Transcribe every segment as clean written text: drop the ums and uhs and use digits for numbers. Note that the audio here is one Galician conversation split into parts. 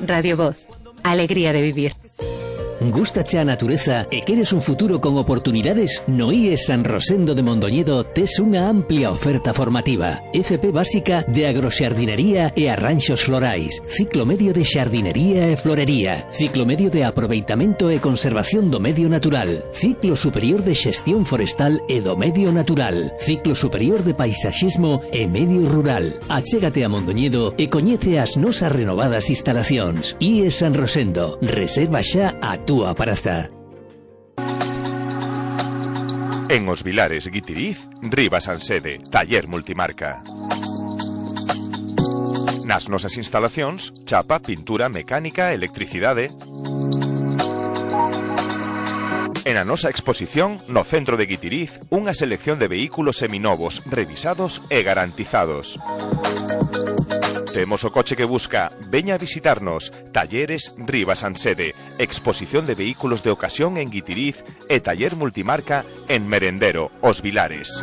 Radio Voz. Alegría de vivir. Gústache a natureza e queres un futuro con oportunidades? No IES San Rosendo de Mondoñedo tes unha amplia oferta formativa. FP básica de agroxardinería e arranxos florais, ciclo medio de xardinería e florería, ciclo medio de aproveitamento e conservación do medio natural, ciclo superior de xestión forestal e do medio natural, ciclo superior de paisaxismo e medio rural. Achégate a Mondoñedo e coñece as nosas renovadas instalacións. IES San Rosendo. Reserva xa a túa praza. En Os Vilares, Guitiriz, Rivas Ansede, taller multimarca. Nas nosas instalacións, chapa, pintura, mecánica, electricidade. En a nosa exposición, no centro de Guitiriz, unha selección de vehículos seminovos, revisados e garantizados. Temos o coche que busca. Veña a visitarnos. Talleres Rivas Ansede. Exposición de vehículos de ocasión en Guitiriz e taller multimarca en Merendero, Os Vilares.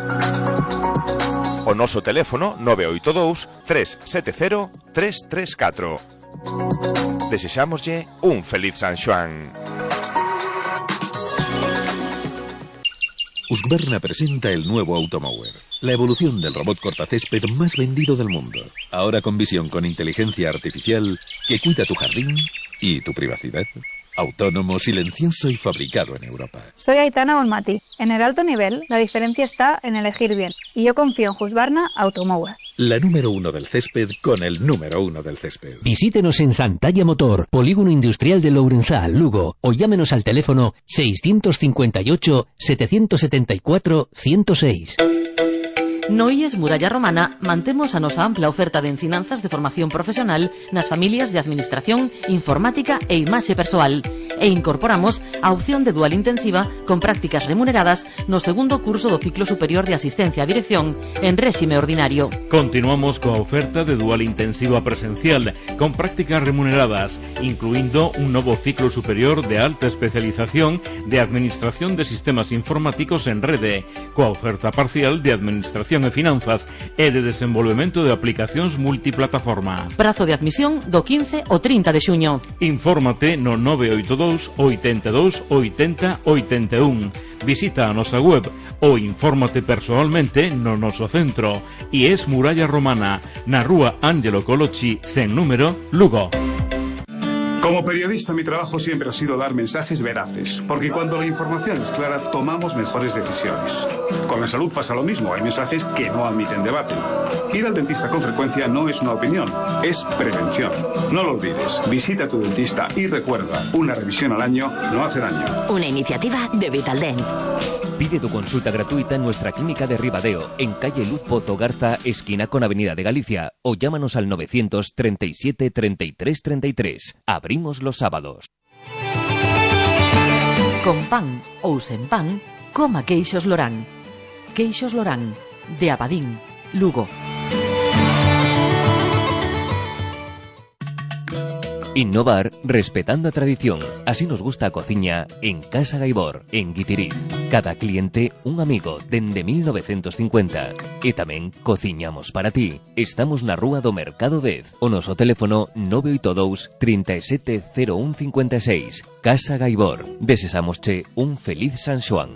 O noso teléfono 982 370 334. Desexámoslle un feliz San Xoán. Husqvarna presenta el nuevo Automower, la evolución del robot cortacésped más vendido del mundo. Ahora con visión con inteligencia artificial que cuida tu jardín y tu privacidad. Autónomo, silencioso y fabricado en Europa. Soy Aitana Olmati. En el alto nivel, la diferencia está en elegir bien. Y yo confío en Husqvarna Automower. La número 1 del césped con el número 1 del césped. Visítenos en Santalla Motor, Polígono Industrial de Lourenzá, Lugo, o llámenos al teléfono 658 774 106. No IES Muralla Romana mantemos a nosa ampla oferta de ensinanzas de formación profesional nas familias de administración, informática e imaxe persoal e incorporamos a opción de dual intensiva con prácticas remuneradas no segundo curso do ciclo superior de asistencia a dirección en réxime ordinario. Continuamos coa oferta de dual intensiva presencial con prácticas remuneradas, incluindo un novo ciclo superior de alta especialización de administración de sistemas informáticos en rede, coa oferta parcial de administración e finanzas e de desenvolvemento de aplicacións multiplataforma. Prazo de admisión do 15 ao 30 de xuño. Infórmate no 982 82 80 81. Visita a nosa web ou infórmate persoalmente no noso centro. IES Muralla Romana, na rúa Ángelo Colocci, sen número, Lugo. Como periodista, mi trabajo siempre ha sido dar mensajes veraces, porque cuando la información es clara, tomamos mejores decisiones. Con la salud pasa lo mismo, hay mensajes que no admiten debate. Ir al dentista con frecuencia no es una opinión, es prevención. No lo olvides, visita a tu dentista y recuerda, una revisión al año no hace daño. Una iniciativa de Vitaldent. Pide tu consulta gratuita en nuestra clínica de Ribadeo, en calle Luz Pozo Garza, esquina con Avenida de Galicia, o llámanos al 937 33 33. Abrimos los sábados. Con pan ou sen pan, coma queixos Lorán. Queixos Lorán, de Abadín, Lugo. Innovar respetando a tradición. Así nos gusta a cociña en Casa Gaibor, en Guitiriz. Cada cliente un amigo dende 1950. E tamén cociñamos para ti. Estamos na rúa do Mercado 10. O noso teléfono 982 370156. Casa Gaibor. Desesámosche un feliz San Xoán.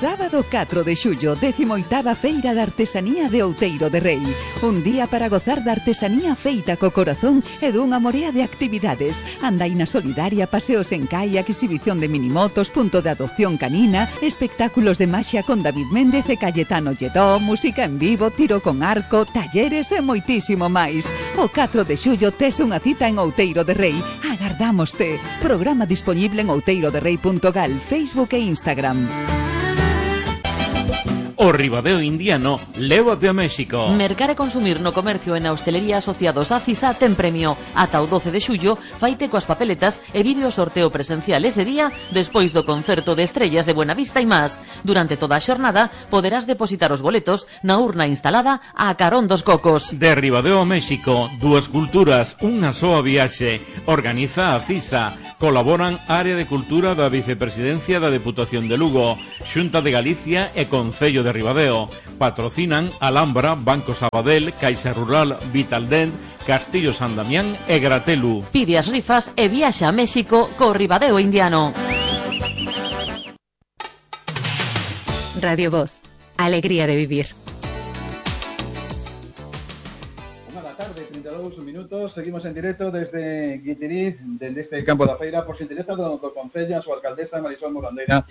Sábado 4 de xullo, 18ª Feira de Artesanía de Outeiro de Rei. Un día para gozar da artesanía feita co corazón e dunha morea de actividades. Andaina solidaria, paseos en kayak, exhibición de minimotos, punto de adopción canina, espectáculos de maxia con David Méndez e Cayetano Lledó, música en vivo, tiro con arco, talleres e moitísimo máis. O 4 de xullo tes unha cita en Outeiro de Rei. Agardámoste. Programa disponible en outeiroderrei.gal, Facebook e Instagram. O Ribadeo Indiano, lévate a México. Mercar e consumir no comercio e na hostelería asociados a CISA ten premio. Ata o 12 de xullo, faite coas papeletas e vive o sorteo presencial ese día despois do concerto de estrellas de Buenavista e más. Durante toda a xornada poderás depositar os boletos na urna instalada a carón dos cocos. De Ribadeo a México, dúas culturas, unha soa viaxe. Organiza a CISA. Colaboran Área de Cultura da Vicepresidencia da Deputación de Lugo, Xunta de Galicia e Concello de de Ribadeo. Patrocinan Alhambra, Banco Sabadell, Caixa Rural, Vitaldent, Castillo San Damián e Gratelu. Pide as rifas e viaxa a México co Ribadeo Indiano. Radio Voz, alegría de vivir. 1:32 minutos, seguimos en directo desde Guitiriz, desde este campo da feira, por si interesa do Concello, a súa alcaldesa Marisol Morandeira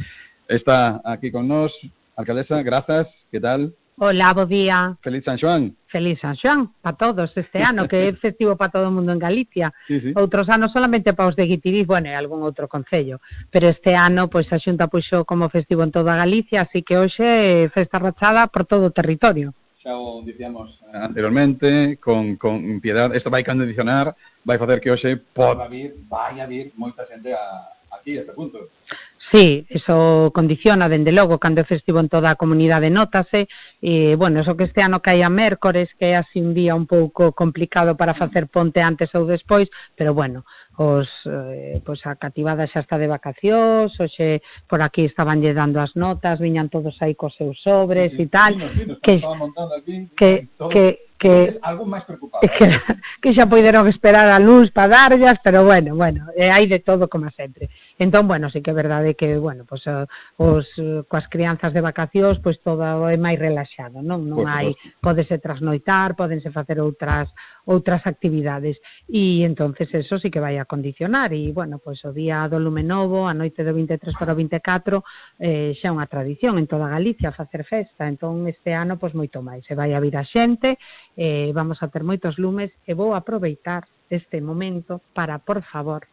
está aquí con nós. Alcaldesa, grazas, que tal? Hola, bo día. Feliz San Xoán. Feliz San Xoán, para todos este ano, que é festivo para todo o mundo en Galicia. Sí, sí. Outros anos solamente para os de Guitiriz, bueno, e algún outro concello. Pero este ano, pois, a Xunta puxo como festivo en toda Galicia, así que hoxe festa rachada por todo o territorio. Xa o dicíamos anteriormente, con piedad, isto vai condicionar, vai facer que hoxe vai a vir moita xente aquí, a este punto. Sí, eso condiciona, dende logo, cando é festivo en toda a comunidade nótase, e, bueno, eso que este ano cae a mércores, que é así un día un pouco complicado para facer ponte antes ou despois, pero, bueno, pois a cativada xa está de vacacións, hoxe por aquí estaban lle dando as notas, viñan todos aí cos seus sobres e tal, que algún máis preocupado. Que xa poideron esperar a luz para darllas, pero bueno, hai de todo como sempre. Entón, bueno, sí que é verdade que, bueno, pues, coas crianzas de vacacións, pois todo é máis relaxado, non hai, pódese trasnoitar, pódense facer outras actividades, e entonces eso sí que vai a condicionar, e, bueno, pois o día do Lume Novo, a noite do 23 para o 24, xa é unha tradición en toda Galicia facer festa, entón este ano, pois moito máis, se vai a vir a xente, vamos a ter moitos lumes, e vou aproveitar este momento para, por favor,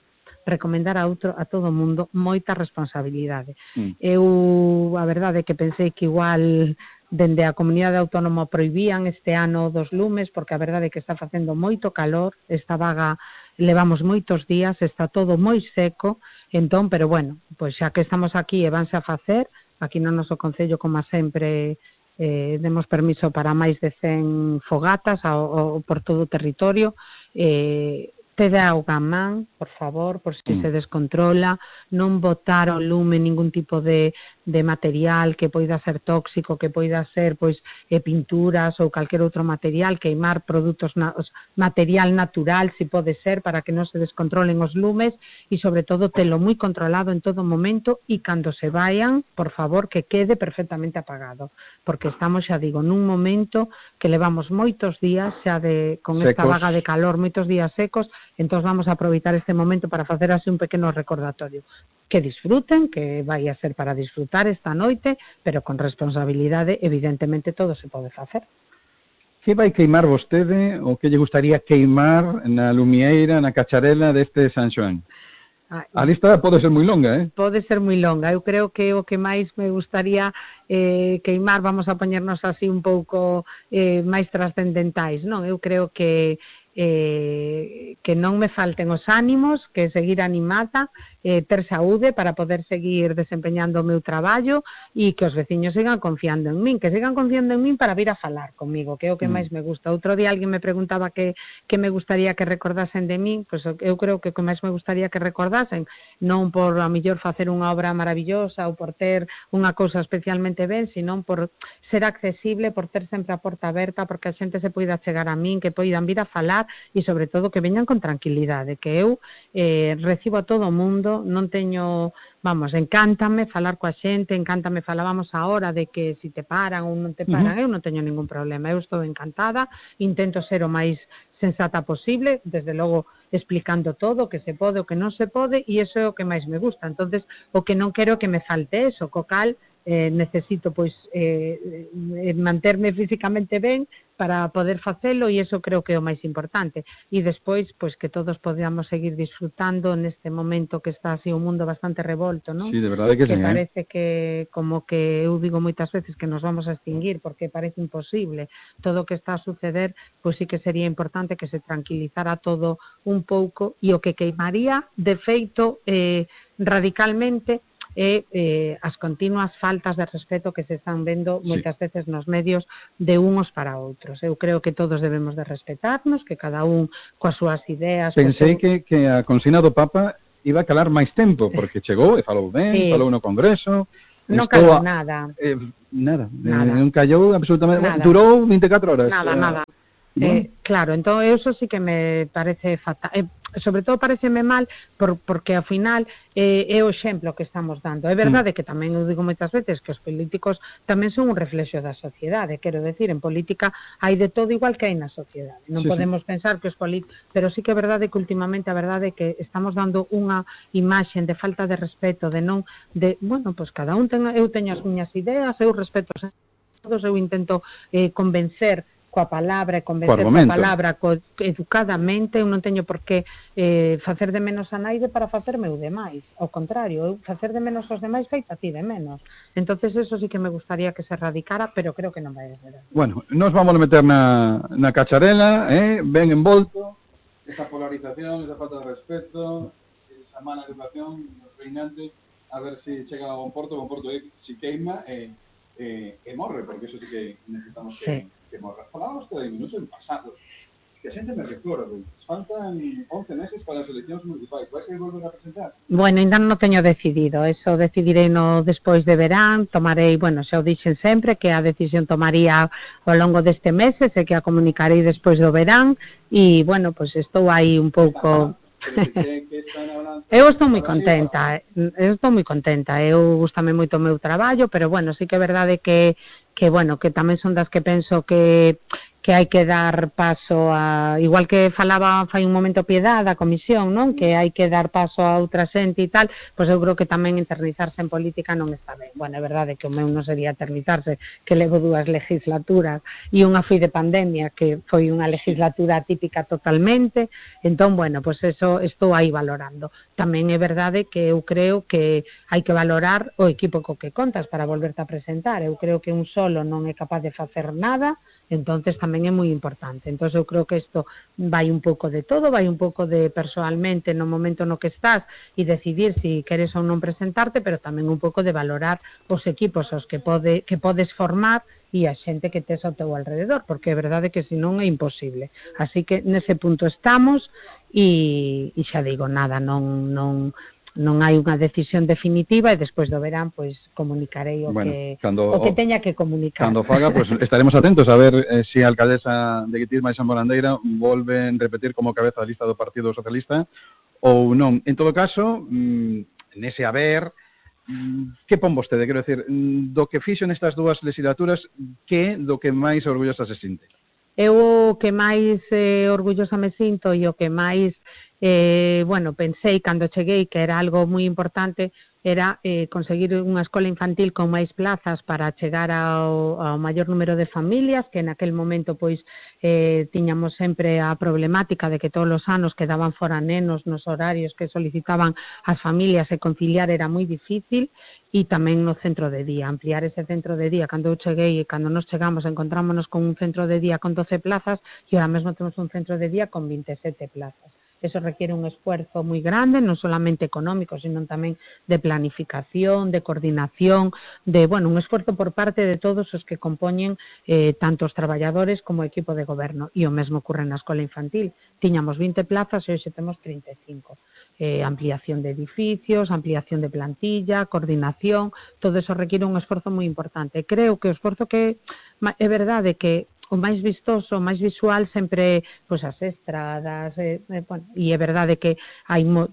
recomendar a todo o mundo moita responsabilidade. Eu, a verdade é que pensei que igual dende a comunidade autónoma prohibían este ano dos lumes, porque a verdade é que está facendo moito calor, esta vaga levamos moitos días, está todo moi seco, entón, pero bueno, pois xa que estamos aquí e vanse a facer, aquí no noso concello, como sempre, demos permiso para máis de 100 fogatas por todo o territorio, Tede auga a man, por favor, por si se descontrola, non botar ao lume ningún tipo de material que poida ser tóxico, que poida ser pois pinturas ou calquer outro material, queimar produtos, material natural, si pode ser, para que non se descontrolen os lumes, e sobre todo telo moi controlado en todo momento, e cando se vayan, por favor, que quede perfectamente apagado, porque estamos, xa digo, nun momento que levamos moitos días xa con esta vaga de calor, moitos días secos. Entón vamos a aproveitar este momento para facer así un pequeno recordatorio. Que disfruten, que vai a ser para disfrutar esta noite, pero con responsabilidade, evidentemente todo se pode facer. Que vai queimar vostede, ou que lle gustaría queimar na lumieira, na cacharela deste San Xoán? A lista pode ser moi longa, Pode ser moi longa. Eu creo que o que máis me gustaría queimar, vamos a poñernos así un pouco máis trascendentais, non? Eu creo que non me falten os ánimos, que seguir animada, ter saúde para poder seguir desempeñando o meu traballo, e que os veciños sigan confiando en min, para vir a falar comigo, que é o que máis me gusta. Outro día alguén me preguntaba que me gustaría que recordasen de min, pois eu creo que o que máis me gustaría que recordasen, non por a mellor facer unha obra maravillosa ou por ter unha cousa especialmente ben, sino por ser accesible, por ter sempre a porta aberta, porque a xente se poida chegar a min, que poidan vir a falar, e sobre todo que veñan con tranquilidade, que eu recibo a todo o mundo, non teño, encántame falar coa xente, falábamos agora de que si te paran ou non te paran, eu non teño ningún problema, eu estou encantada, intento ser o máis sensata posible, desde logo explicando todo, o que se pode, o que non se pode, e iso é o que máis me gusta. Entonces, o que non quero que me falte eso, co cal necesito pois manterme físicamente ben para poder facelo, e iso creo que é o máis importante, e despois pois que todos podamos seguir disfrutando neste momento que está así o mundo bastante revolto, non? Sí, de verdade que sí, parece que, como que eu digo moitas veces, que nos vamos a extinguir, porque parece imposible todo o que está a suceder, pois sí que sería importante que se tranquilizara todo un pouco, e o que queimaría de feito radicalmente as continuas faltas de respeto que se están vendo moitas veces nos medios de unos para outros. Eu creo que todos debemos de respetarnos, que cada un coas súas ideas... Pensei que a consigna do Papa iba a calar máis tempo, porque chegou e falou ben, falou no Congreso, Non calou nada. Nada. Non callou absolutamente. Nada. Durou 24 horas. Nada. Claro, entón eso sí que me parece fatal. Sobre todo pareceme mal porque ao final é o exemplo que estamos dando. É verdade que tamén eu digo moitas veces que os políticos tamén son un reflexo da sociedade, quero decir, en política hai de todo igual que hai na sociedade. Non podemos pensar que os políticos, pero sí que é verdade que últimamente a verdade é que estamos dando unha imaxe de falta de respeto, de non, de, bueno, pois cada un eu teño as miñas ideas, eu respeto a todos, eu intento convencer coa palabra e convencer coa palabra educadamente, eu non teño por que facer de menos a naide para facerme o demais, ao contrario, eu facer de menos aos demais feita a ti de menos. Entonces eso sí que me gustaría que se erradicara, pero creo que non vai a ser. Bueno, nos vamos a meter na cacharela, ben envolto, esa polarización, esa falta de respeto, esa mala educación reinante, a ver si chega a bon porto si queima e morre, porque eso sí que necesitamos que morra. Falábamos de minutos en pasado, que a xente me recorda, faltan 11 meses para as eleccións municipais, vais a volver a presentar? Bueno, ainda non teño decidido, eso decidirei no despois de verán, tomarei, bueno, xa o dixen sempre, que a decisión tomaría ao longo deste mes, e que a comunicarei despois do verán, e, bueno, pois estou aí un pouco... Eu estou moi contenta, eu gustame moito o meu traballo, pero bueno, sí que é verdade que bueno, que tamén son das que penso que hai que dar paso a, igual que falaba fai un momento Piedad da comisión, non? Que hai que dar paso a outra xente e tal, pois eu creo que tamén eternizarse en política non está ben. Bueno, é verdade que o meu non sería eternizarse, que levo 2 legislaturas e unha foi de pandemia, que foi unha legislatura atípica totalmente, entón, bueno, pois eso estou aí valorando. Tamén é verdade que eu creo que hai que valorar o equipo co que contas para volverte a presentar. Eu creo que un solo non é capaz de facer nada, entonces tamén é moi importante. Entón eu creo que isto vai un pouco de todo, vai un pouco de persoalmente no momento no que estás e decidir se queres ou non presentarte, pero tamén un pouco de valorar os equipos aos que podes formar e a xente que tes ao teu alrededor, porque é verdade que senón é imposible. Así que nese punto estamos e xa digo, nada, non hai unha decisión definitiva e despois do verán pois comunicarei o que teña que comunicar. Cando faga, pues estaremos atentos a ver se a alcaldesa de Guitiriz, Maixán Morandeira, volven repetir como cabeza da lista do Partido Socialista ou non. En todo caso, nese haber, que pon vostede? Quero decir, do que fixo nestas 2 legislaturas, que do que máis orgullosa se sinte? Eu o que máis orgullosa me sinto e o que máis bueno, pensei cando cheguei que era algo moi importante era conseguir unha escola infantil con máis plazas para chegar ao maior número de familias, que naquel momento pois tiñamos sempre a problemática de que todos os anos quedaban fora nenos nos horarios que solicitaban as familias e conciliar era moi difícil, e tamén no centro de día, ampliar ese centro de día. Cando eu cheguei e cando nos chegamos encontrámonos con un centro de día con 12 plazas e ahora mesmo temos un centro de día con 27 plazas. Eso requiere un esfuerzo moi grande, non solamente económico, sino tamén de planificación, de coordinación, de, bueno, un esfuerzo por parte de todos os que compoñen tanto os traballadores como o equipo de goberno. E o mesmo ocurre na escola infantil. Tiñamos 20 plazas e hoxe temos 35. Ampliación de edificios, ampliación de plantilla, coordinación, todo eso requiere un esforzo moi importante. Creo que o esforzo que é verdade que o máis vistoso, o máis visual sempre pois as estradas, bueno, e é verdade que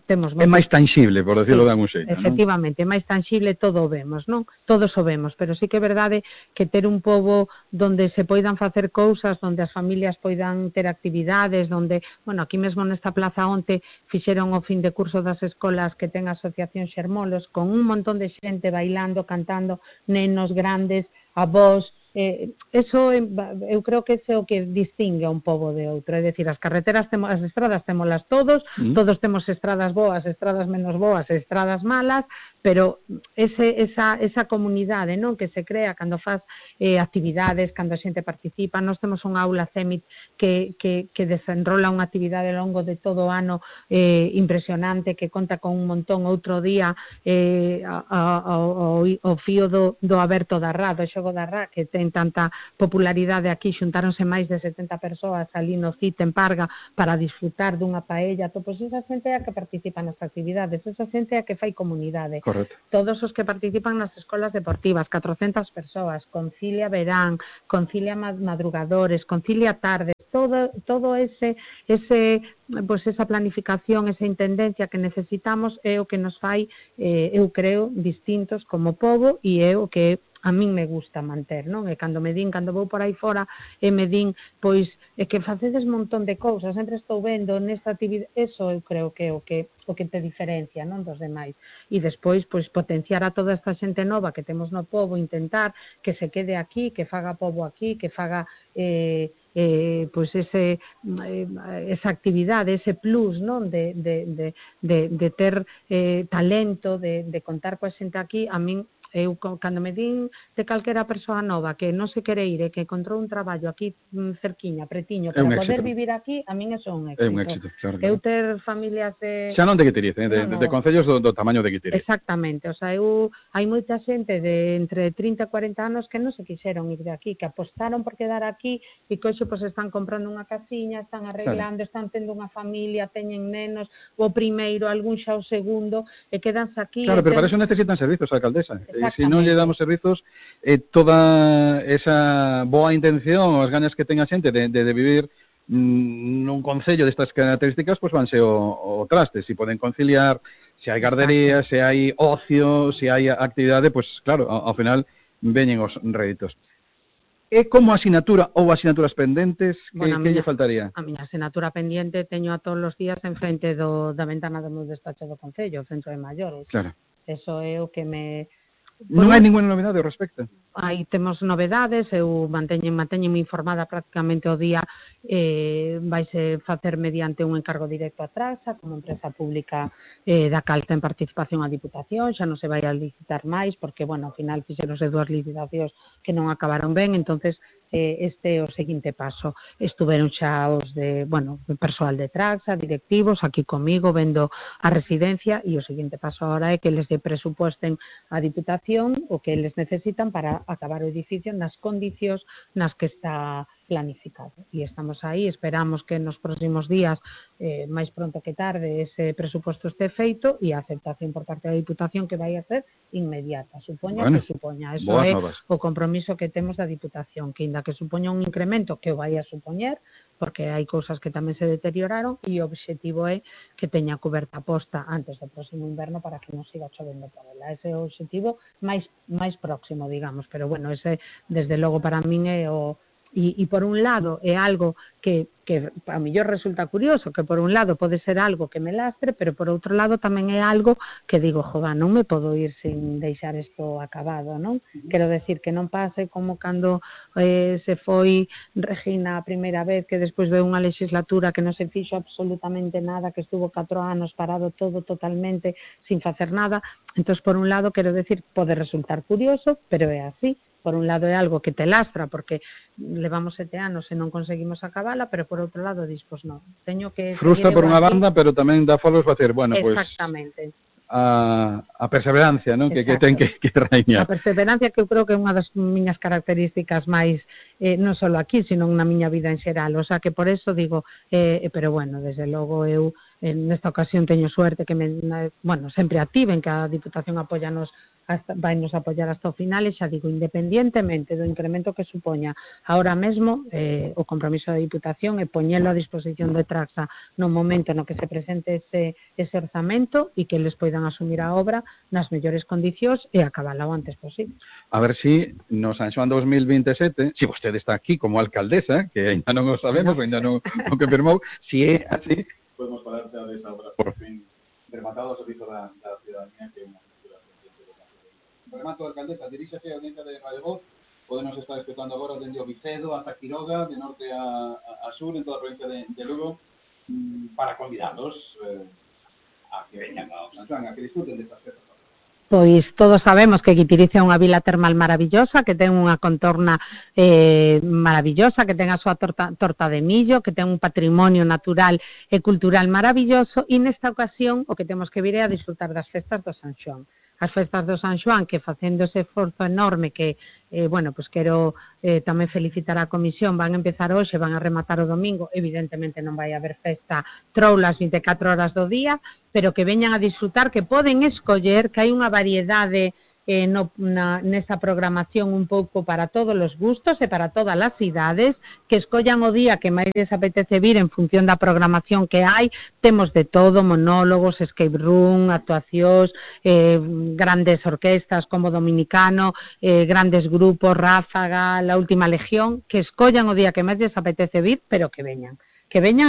temos é máis tangible, por decirlo de algún xeito, efectivamente, é máis tangible, todo o vemos, non? Todos o vemos, pero sí que é verdade que ter un pobo donde se poidan facer cousas, donde as familias poidan ter actividades, donde, bueno, aquí mesmo nesta plaza onte fixeron o fin de curso das escolas que ten a Asociación Xermolos con un montón de xente bailando, cantando, nenos grandes, avós. Eso eu creo que é o que distingue a un pobo de outro, é dicir, as carreteras, as estradas témolas todos temos estradas boas, estradas menos boas, estradas malas, pero esa comunidade, non, que se crea cando faz actividades, cando a xente participa. Nós temos unha aula CEMIT que desenrola unha actividade ao longo de todo o ano impresionante, que conta con un montón. Outro día o fío do aberto da Rá, do xogo da Rá, que ten tanta popularidade aquí, xuntáronse máis de 70 persoas ali no CIT en Parga para disfrutar dunha paella. Pois esa xente é a que participa nas actividades, esa xente é a que fai comunidade. todos os que participan nas escolas deportivas, 400 persoas, Concilia Verán, Concilia Madrugadores, Concilia Tardes, todo ese pues esa planificación, esa intendencia que necesitamos é o que nos fai, eu creo, distintos como pobo, e é o que a min me gusta manter, non? E cando vou por aí fora e me din, pois, é que facedes un montón de cousas, sempre estou vendo nesta actividade, eso eu creo que é o que te diferencia, non, dos demais. E despois, pois, potenciar a toda esta xente nova que temos no pobo, intentar que se quede aquí, que faga pobo aquí, que faga pois esa actividade, ese plus, non, de ter talento, de contar coa xente aquí. A min, eu, cando me din de calquera persoa nova que non se quere ir e que encontrou un traballo aquí cerquiña, pretiño, para poder vivir aquí, a min eso é un éxito. É un éxito, claro. Eu ter familias de... Xa non de Guitiriz, de concellos do tamaño de Guitiriz. Exactamente, o sea, hai moita xente de entre 30 e 40 anos que non se quixeron ir de aquí, que apostaron por quedar aquí e que hoxe pues, están comprando unha casiña, están arreglando, están tendo unha familia, teñen nenos, o primeiro, algún xa o segundo, e quedanse aquí... Claro, pero para eso necesitan servizos, alcaldesa. Se non lle damos servizos, toda esa boa intención, as ganas que ten a xente de vivir nun concello destas características, pois vanse o traste. Se poden conciliar, se hai gardería, se hai ocio, se hai actividade, pois claro, ao final veñen os réditos. É como asignatura ou asignaturas pendentes, que lle faltaría? A miña asignatura pendiente teño a todos os días en frente da ventana do meu despacho do Concello, o Centro de Maiores. Claro. Eso é o que me... Non hai ninguna novidade ao respecto? Aí temos novedades, eu manteñome informada prácticamente o día, vaise facer mediante un encargo directo a Traxa, como empresa pública da cal ten participación a Diputación, xa non se vai a licitar máis, porque, bueno, ao final fixeronse 2 licitacións que non acabaron ben, entonces este é o seguinte paso. Estuveron xa os de, bueno, persoal de Traxa, directivos, aquí comigo, vendo a residencia, e o seguinte paso agora é que les presupuesten a Diputación o que eles necesitan para acabar o edificio nas condicións nas que está planificado. E estamos aí, esperamos que nos próximos días, máis pronto que tarde, ese presupuesto este feito e a aceptación por parte da Diputación que vai a ser inmediata, supoña que supoña. Eso é o compromiso que temos da Diputación, que ainda que supoña un incremento que o vai a supoñer, porque hai cousas que tamén se deterioraron, e o obxectivo é que teña coberta posta antes do próximo inverno para que non siga chovendo por ela. Ese é o obxectivo máis próximo, digamos, pero bueno, ese desde logo para min é o... E por un lado é algo que a mellor resulta curioso, que por un lado pode ser algo que me lastre, pero por outro lado tamén é algo que digo, joda, non me podo ir sin deixar isto acabado, non? Quero decir que non pase como cando se foi Regina a primeira vez, que despois de unha legislatura que non se fixo absolutamente nada, que estuvo 4 anos parado todo totalmente sin facer nada. Entón, por un lado, quero decir, pode resultar curioso, pero é así. Por un lado é algo que te lastra porque levamos 7 anos e non conseguimos acabala, pero por outro lado dis, pois non, teño que... Frustra por unha banda, pero tamén dá folos para decir, bueno, pois... Exactamente. A perseverancia, non? Que ten que reiñar. A perseverancia que eu creo que é unha das miñas características máis, non só aquí, sino na miña vida en xeral. O sea, que por eso digo, pero bueno, desde logo eu nesta ocasión teño suerte que sempre activen, que a Diputación vai nos apoiar hasta o final, e xa digo, independientemente do incremento que supoña ahora mesmo, o compromiso da Diputación é poñelo a disposición de Traxa no momento no que se presente ese orzamento e que les poidan asumir a obra nas mellores condicións e acabala o antes posible. A ver si no San Xoán 2027, si vostede está aquí como alcaldesa, que ainda non o sabemos, ainda non o confirmou, si é así, podemos falar xa desa obra por fin rematado ao servizo da ciudadanía, que é unha remato, alcaldesa, diríxase a audiencia de Radio Voz, podemos estar escutando agora dende o Vicedo hasta Quiroga, de norte a sur, en toda a provincia de Lugo, para convidados a que veñan ao San Xoán, a que disfruten destas festas. Pois todos sabemos que Guitiriz é unha vila termal maravillosa, que ten unha contorna maravillosa, que ten a súa torta de millo, que ten un patrimonio natural e cultural maravilloso, e nesta ocasión o que temos que vir é a disfrutar das festas do San Xoán. As festas do San Xoán, que facendo ese esforzo enorme que bueno, pues quero tamén felicitar a comisión, van a empezar hoxe, van a rematar o domingo, evidentemente non vai haber festa troulas 24 horas do día, pero que veñan a disfrutar, que poden escoller, que hai unha variedade nesa programación un pouco para todos os gustos e para todas as idades, que escollan o día que máis les apetece vir en función da programación que hai. Temos de todo, monólogos, escape room, actuacións, grandes orquestas como Dominicano, grandes grupos, Ráfaga, La Última Legión, que escollan o día que máis les apetece vir, pero que veñan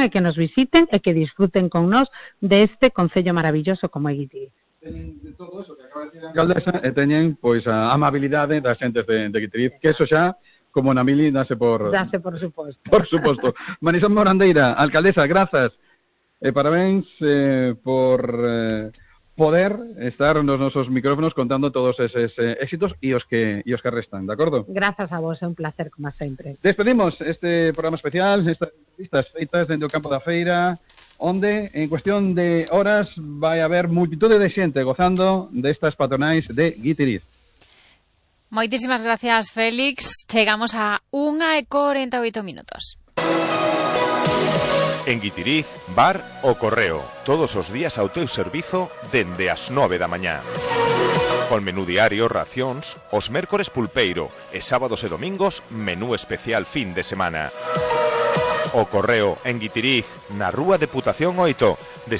e que nos visiten e que disfruten con nós deste concello maravilloso como é Guitiriz. De todo eso que acaba de decir a alcaldesa, teñen pois a amabilidade das xentes de Guitiriz, que eso xa, como na mili, dase por suposto. Por suposto. Marisol Morandeira, alcaldesa, grazas. Parabéns por poder estar nos nosos micrófonos contando todos eses éxitos e os que restan, de acordo? Grazas a vos, é un placer como sempre. Despedimos este programa especial, estas entrevistas feitas dentro do campo da feira, onde en cuestión de horas vai haber multitude de xente gozando destas patronais de Guitiriz. Moitísimas gracias, Félix. Chegamos a 1:48. En Guitiriz, bar O Correo, todos os días ao teu servizo dende as 9 da mañá. Con menú diario, racións, os mércores pulpeiro e sábados e domingos menú especial fin de semana. O Correo en Guitiriz, na Rúa Deputación 8,